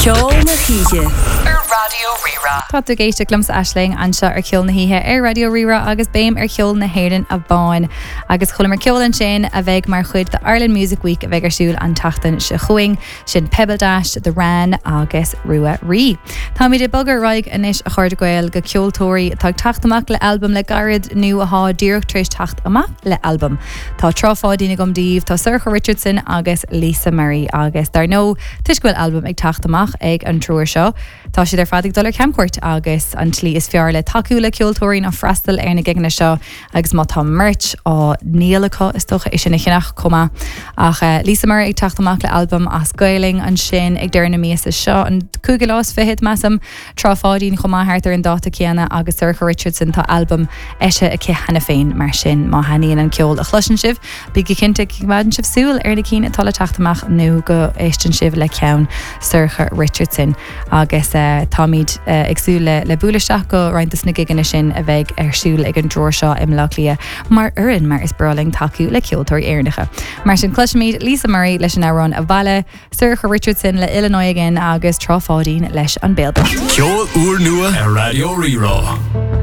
Ceol na hOíche ar Raidió Rí-Rá. Tá tú ag éisteacht liomsa Aisling anseo ar Cheol na hOíche ar Raidió Rí-Rá agus béim ar cheol na hÉireann amháin. Agus chualamar ceol ansin a bheidh mar chuid de Ireland Music Week a bheidh ar siúl an tseachtain seo chugainn. Sin Pebbledash, The Wran agus Rua Rí. Táimid ag bogadh ar aghaidh anois a chairde Gael go ceoltóirí atá ag teacht amach le albam le gairid nó athá díreach tar éis teacht amach le albam. Tá Trá Pháidín agam daoibh, tá Sorcha Richardson agus Lisa Murray agus dar ndóigh toisc go bhfuil albam ag teacht amach ag an triúr seo, tá siad ar fad ag dul ar camchuairt agus an tslí is fearr le tacú le ceoltóirí ná freastal ar na gigeanna seo agus má tá merch á ndíol acu is dócha é sin a cheannach chomh maith. Ach Lisa Murray ag teacht amach le albam as Gaelainn ansin ag deireadh na míosa seo, an cúigiú lá is fichead, measaim. Trá Pháidín chomh maith thart ar an dáta céanna agus Sorcha Richardson, tá albam eisithe aici cheana féin, mar sin má thaitníonn an ceol a chloiseann sibh, bígí cinnte go gcoimeádann sibh súil ar na cinn atá le teacht amach nó go éisteann sibh le ceann Sorcha Richardson. Agus táimid ag súil le bualadh isteach go roinnt de na gigeanna sin a bheidh ar siúl ag an dtriúr seo i mBleá Cliath mar fhoireann mar is breá linn tacú le ceoltóirí Éireannacha. Mar sin cloisfimid Lisa Murray leis an amhrán Abhaile, Sorcha Richardson le Illinois Again agus Trá Pháidín leis An Béal Bocht. Ceol úrnua ar Raidió Rí-Rá.